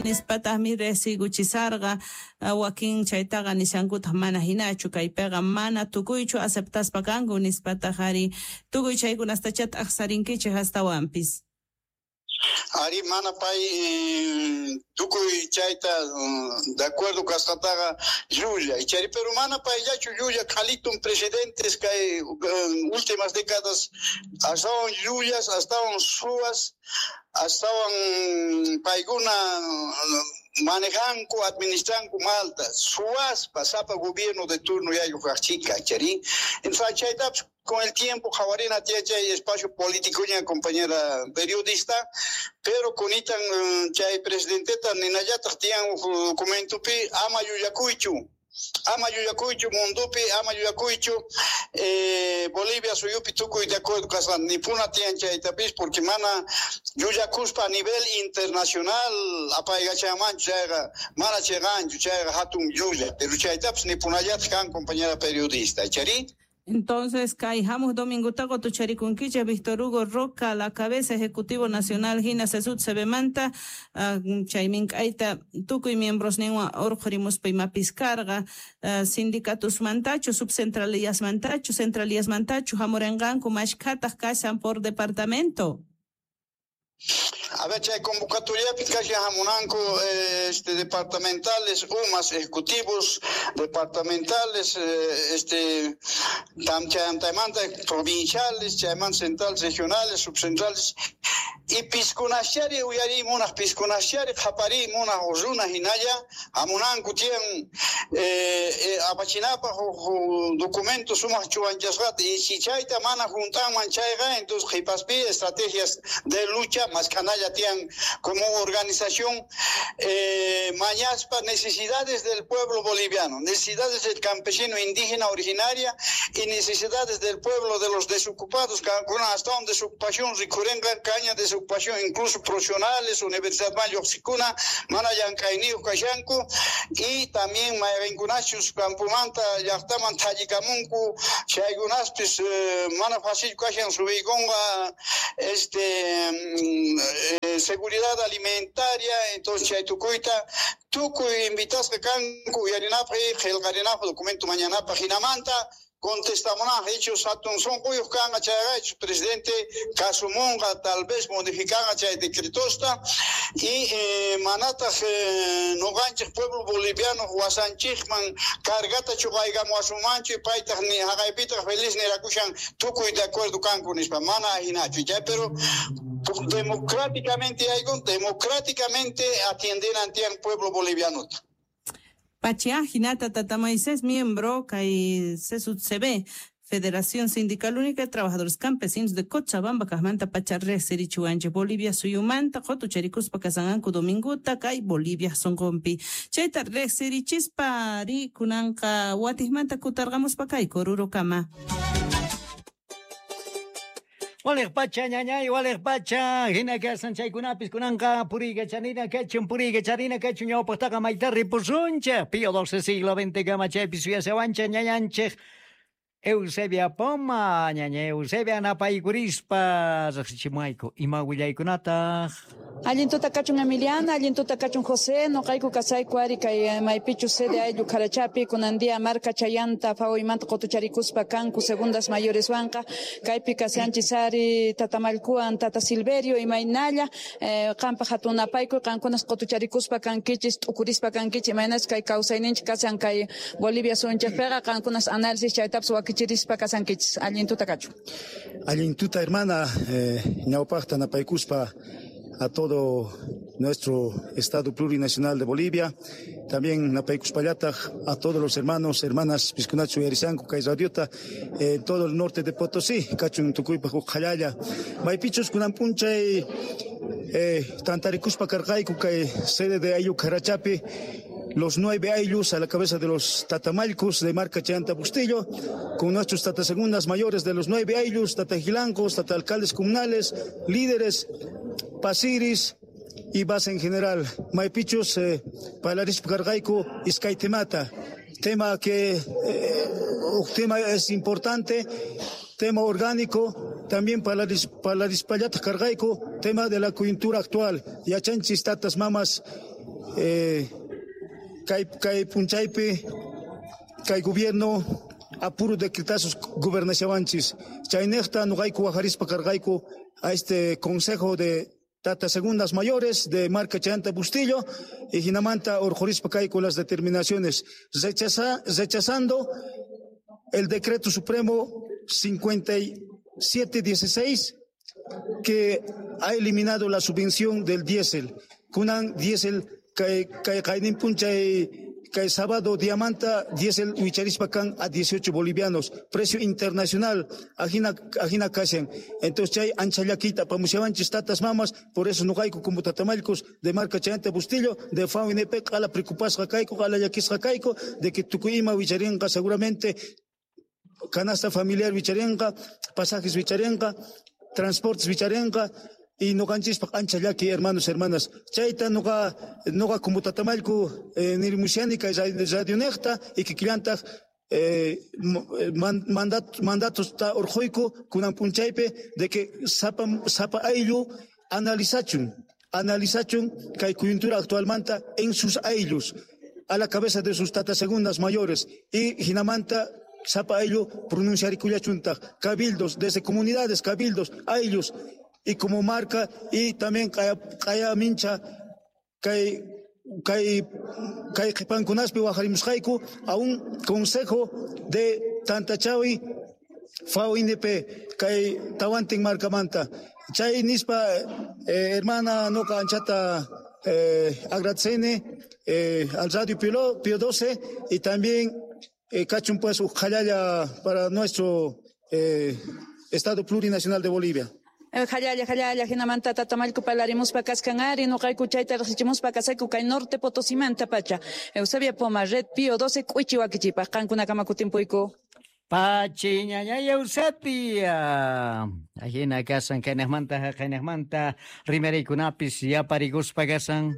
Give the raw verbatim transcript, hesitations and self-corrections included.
Nispataqmi riqsiykuchisarqa. Wakin chaytaqa nishankutaq mana hinachu, kaypiqa mana tukuychu aceptaspa kanku nispataq ari tukuy chaykunastachá t'aqsarinkichik astawanpis. Ari mana pay eh, tukuy chayta de acuerdo kasqataqa llulla ichari, pero mana payllachu llulla, qhalitun presidentes kay últimas décadas astawan llullas, astawan suwas, astawan paykuna manejanku, administranku malta, suwaspa sapa gobierno de turno yayu kaqchika ichari. Entonces chaytapas con el tiempo qhawarina tiyan chay espacio político ña compañera periodista, pero kunitan chay presidenteta ninallataq tiyan documentopi ama llullakuychu, ama llullakuychu mundupi, ama llullakuychu eh, Bolivia suyupi tukuy de acuerdo kasqan nipuna tiyan chaytapis, porque mana llullakuspa a nivel internacional apaykachanmanchu chayqa mana chiqanchu chayqa hatun llulla, pero chaytapis nipunallataq kan compañera periodista ichari. Entonces, kay hamuq domingota qotucharikunkichik Víctor Hugo Roca, la cabeza ejecutivo nacional hina CESUD C Bmanta, uh, chay mink'ayta tukuy miembros ninwan urqhurimuspa imapis karqa, uh, sindicatusmantachu, subcentralillasmantachu, centralillasmantachu hamurinqanku, mashkhataq kashan por departamento? A ver, chay convocatoriapi kashan hamunanku este, departamentales, umas ejecutivos departamentales, este, tam chaymanta provinciales, chaymanta centrales, regionales, subcentrales, y piskunaschari uyariy munaq, piskunaschari qhapariy munaq runa hinalla hamunanku tiyan eh, eh, apachinapaq huk documento sumaq chuwanchasqata, y si chayta mana juntanman chayqa, entonces qhipaspi estrategias de lucha mask'analla tiyan como organización eh, mañaspa necesidades del pueblo boliviano, necesidades del campesino indígena originaria y necesidades del pueblo de los desocupados, hasta donde desocupación rikurenqa kaña desocupación incluso profesionales, universidad lluqsikuna mana llank'ayniyuq kashanku, y también mayqinkunachus campomanta llaqtaman thallikamunku chaykunaspis eh, mana fácil kashan subiykunqa este eh, seguridad alimentaria. Entonces chay tukuyta tukuy invitasqa kanku uyarinapaq y qillqarinapaq documento mañanapaq, hinamanta contestamunaq hechos hatun sunquyuq kanqa chayqa hechos presidente kasumunqa, tal vez modificanqa chay decretosta y eh, manataq eh, nuqanchik pueblo boliviano wasanchikman cargata chuqaykamuwasunmanchu y paytaq ni haqaypitaq feliz nirakushan tukuy de acuerdo kanku nispa, mana hinachu chay, pero democráticamente yaykun, democráticamente atiendenan tiyan pueblo boliviano. Pachia hinata tata Moisés, miembro kay C S U T C B, Federación Sindical Única de Trabajadores Campesinos de Cochabamba, kajmanta pacha riqsirichiwanchik Bolivia suyumanta qotucharikuspa kasanqanku dominguta kay Bolivia sunqunpi. Chayta riqsirichispa ri kunanqa watiqmanta kutarqamuspa kay Orurokama. Waliq pacha ñañay, waliq pacha, hina kasan chaykunapis kunanqa puriykachanina kachun, puriykacharina kachun ñawpaqtaqa mayta ripusunchik Pío doce siglo veinte kama chaypi suyasawanchik ñañanchik Eusebia Poma, ñaña Eusebia, napaykurispa riqsichimuwayku ima willaykunataq. Allin tuta kachun, Emiliana, allin tuta kachun, José. Noqayku kasayku ari kay maypichu sede ayllu Karachapi, kunan día marka chayanta fawaymanta qutucharikuspa kanku segundas mayores wanqa. Kaypi kashanchis ari tata Mallkuwan, tata Silverio, imaynalla eh, qampaq hatun napaykuy, qankunas qutucharikuspa kankichis, t'ukurispa kankichis imaynas kay kawsayninchik kashan kay Bolivia suyunchikpiqa, qankunas análisis chaytapas wakichirispa kasankichis. Allin tuta kachun. Allin tuta, hermana, eh, ñawpaqta napaykuspa a todo nuestro Estado Plurinacional de Bolivia, también napaykuspallataq a todos los hermanos, hermanas piskunachu uyarisanku kay radiota en todo el norte de Potosí, kachun tukuypaq huk qhallalla. Maypichus kunan p'unchay eh, tantarikuspa karqayku kay sede de ayllu Karachapi, los nueve ayllus a la cabeza de los tatamallkus de marca Chayanta Bustillo, con nuestros tatasegundas mayores de los nueve ayllus, tatajilancos, tata alcaldes comunales, líderes, pasiris y base en general. Maypichus eh, parlarispa karqayku iskay temata. Tema que eh, tema es importante, tema orgánico, también parlarispallataq karqayku, tema de la coyuntura actual. Yachanchis tatas mamas Eh, kay kay punchaypi kay gobierno apuro decretazos gobernashawanchis. Chaynejta noqayku wajarispa karqayku a este consejo de Tata Segundas Mayores de Marca Chayanta Bustillo y jinamanta orjorispa kayku las determinaciones rechaza, rechazando el decreto supremo cincuenta y siete dieciséis que ha eliminado la subvención del diésel. Kunan diésel kay kay kaynin punchay kay sábado diamanta diésel wicharispa kan a dieciocho bolivianos, precio internacional, ajina ajina kashan. Entonces chay anchallakita pamushawanchis tatas mamas, por eso noqayku como tatamallkus de Marca Chayanta Bustillo, de F A U N P, q'ala preocupasqa kayku, q'ala llakisqa kayku, de que tukuy ima wicharinqa seguramente canasta familiar wicharinqa, pasajes wicharinqa, transportes wicharinqa, y noqanchispaq ancha llaki, hermanos, hermanas. Chayta noqa noqa como tatamallku eh, nirimushani kay radionejta y kikillantaq eh, man, mandat, mandatos ta urquyku kunan punchaypi de que sapa sapa ayllu analizachun, analizachun kay coyuntura actualmanta en sus ayllus, a la cabeza de sus tatas segundas mayores y jinamanta sapa ayllu pronunciarikullachuntaq cabildos desde comunidades, cabildos, ayllus y como marca y también kaya kaya mincha kay kay kay qhipankunaspi wajarimusqayku a un consejo de Tantachawi F A U N P kay tawantin marcamanta. Chay nispa eh, hermana noqa anchata eh, agradecene eh, al Radio Pío, Pío doce y también eh, kachun pues ujallalla para nuestro eh, Estado Plurinacional de Bolivia. Jallalla, jallalla, jinamanta tatamallku parlarimuspa kaskan ari, noqayku chayta riqsichimuspa kasayku kay norte Potosimanta pacha. Eusebia Poma, Red Pío doce, k'uichi wakichipaq, qankunakama kutimpuyku. Pachi ñañay Eusebia. Ajina kasan kaynejmanta haqaynejmanta rimariykunapis yaparikuspa kasan.